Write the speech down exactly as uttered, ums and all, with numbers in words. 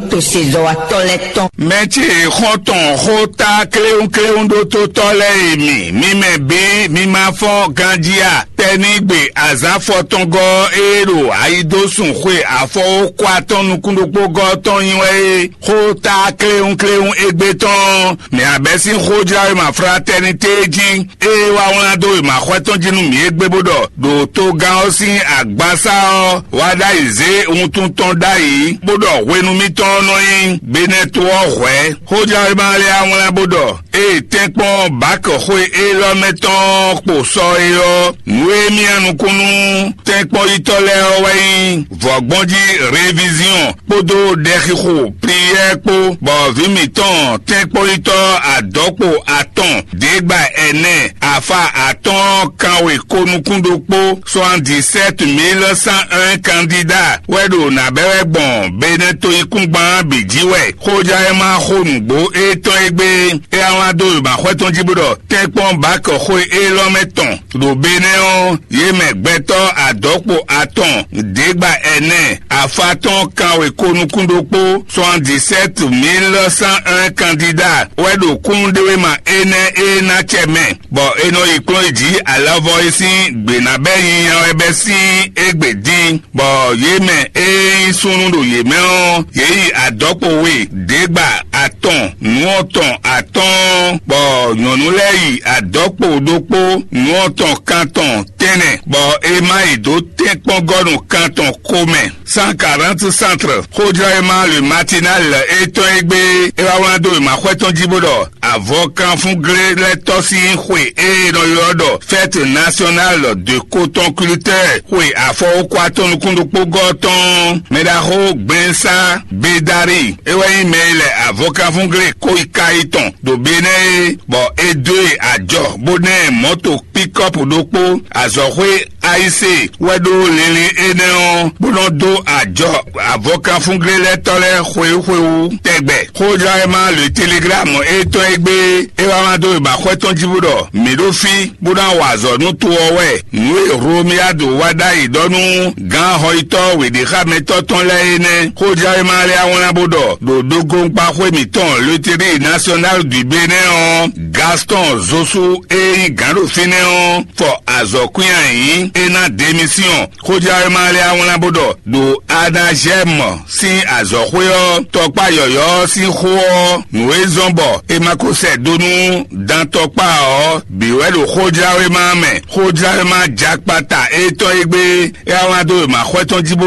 to sezɔwatɔ́ lɛ́ɛ tɔn. Mɛ ce xɔ́ntɔn xó tá kléwúnkléwún ɖó tótɔ́ lɛ́ɛ e mi, mi mɛ bǐ mi ma fɔ́n ganjí a? Tɛnígbe azǎn fɔtɔngɔ́ e ɖo ayidósun xwe afɔwókwa tɔn nukúnɖokpógɔ́ tɔn nyi wɛ é, xó tá kléwúnkléwún égbé tɔn, mɛ abɛ sín xójlawéma fratɛ́nitée jí, ée wá wlán dó wěmaxɔ́ tɔn jí nú mǐ égbé bó ɖɔ ɖo togán ɔ́ sín agbasá ɔ́ wá ɖ'ayǐ zé wuntun tɔn ɖ'ayǐ, bó ɖɔ hwenu mitɔn ɔ́ nɔ nyí Benɛto ɔ́ hwɛ̌. Xójlawéma lɛ́ɛ wá wlán bó ɖɔ ée tɛ́nkpɔ́n Bak xwe élɔ́ mɛ tɔn kpo sɔ é ɔ́, nǔ e mì nɔ nukún nú tɛ́nkpɔ́yítɔ́ lɛ́ɛ ɔ́ wɛ nyí vɔ̌gbɔ́njí reviziɔn kpódó ɖɛxixo pliyɛ́ kpó, bɔ vǐ mǐtɔn tɛ́nkpɔ́yítɔ́ adɔ̌kpo atɔn, děgbá ɛnɛ, afa atɔ́ɔ́n kanwe ko nukún ɖokpó, soixante-dix-sept mille cent un kandidá wɛ ɖo nǎ bɛ́ wɛ gbɔn Benɛto yíkúngban bǐ jí wɛ. Xójlawéma xó nǔgbó étɔn e gbé é wá wlán dó wěmaxɔ́ tɔn jí bó ɖɔ tɛ́nkpɔ́n Bak xwe élɔ́ mɛ tɔn ɖo Benɛ́ ɔ́, yě mɛ gbɛtɔ́ adɔ̌kpo atɔn, děgbá ɛnɛ, afa tɔn kanwe ko nukún ɖokpó, soixante-dix-sept mille cent un kandidá wɛ ɖo kúnnuɖewéma énɛ́ e ná acɛ mɛ, bɔ è nɔ yi kplɔ́n yi jǐ alɔvɔ e sín gbě ná bɛ́ nyanya wɛ bɛ́ sín égbé dín, bɔ yě mɛ e nyí súnnu ɖo yě mɛ ɔ́, yě yi adɔ̌kpo we, děgbá atɔn, nǔ atɔn atɔ́ɔ́n, bɔ nyɔ̌nu lɛ́ɛ yi adɔ̌kpo ɖokpó, nǔ atɔn kantɔn tɛ́nnɛ, bɔ è má yi dó tɛ́nkpɔ́ngɔ́nu kantɔn ko mɛ. Cent quarante centre. Xójlɔ́yɛ́má le matinal étɔn e gbé é wá wlán dó wěmaxɔ́ tɔn jí bó ɖɔ avɔkanfúnglé lɛ́ɛ tɔ́ sín xwe e è nɔ ylɔ́ ɖɔ fête nationale de coton culteur, xwe afɔwókwa tɔn nukúnɖokpógɔ́ tɔn, mɛɖaxó gbɛnsá Bedari, é wɛ nyí mɛ e lɛ avɔkanfúnglé kó yi ka yi tɔn ɖo Benɛ́ é, bɔ é dó e ajɔ bó ná ɛ mɔ̌to pikɔ́pu ɖokpó, azɔ̌xwé Ayise wɛ ɖó linlin énɛ́ ɔ́, bó nɔ́ dó ajɔ avɔkanfúnglélɛ́tɔ́ lɛ́ɛ xwewú xwewú tɛgbɛ. Xójlɔ́yɛ́má le Telegram étɔn e gbé é wá wá dó wěmaxɔ́ tɔn jí bó ɖɔ mǐ ɖo fí bó ná wa azɔ̌ nú to ɔ́ wɛ. Nǔ e Hlomiyadu wá ɖ'ayǐ ɖɔ nú gǎn xɔyítɔ́ wěɖéxámɛtɔ́ tɔn lɛ́ɛ é nɛ́. Xójlɔ́yɛ́má lɛ́ɛ á wlán bó ɖɔ ɖo ɖogonkpaxwé mǐtɔn Loterie Nationale du Bénin ɔ́, Gaston Zosu e nyí gǎn ɖo fínɛ́ ɔ́ fɔ azɔ̌kwín ayǐ, é ná demisiyɔn. Xójlɔ́yɛ́má lɛ́ɛ á wlán bó ɖɔ ɖo Anazɛ́mɔ sín azɔ̌xwé ɔ́, tɔkpá yɔ̌yɔ́ ɔ́ sín xó ɔ́, nǔ e zɔ́n bɔ è ma ko sɛ do nú dantɔkpá ɔ́ bǐ wɛ ɖo xójláwéma mɛ. Xójláwéma jakpata étɔn e gbé é wá wá dó wěmaxɔ́ tɔn jí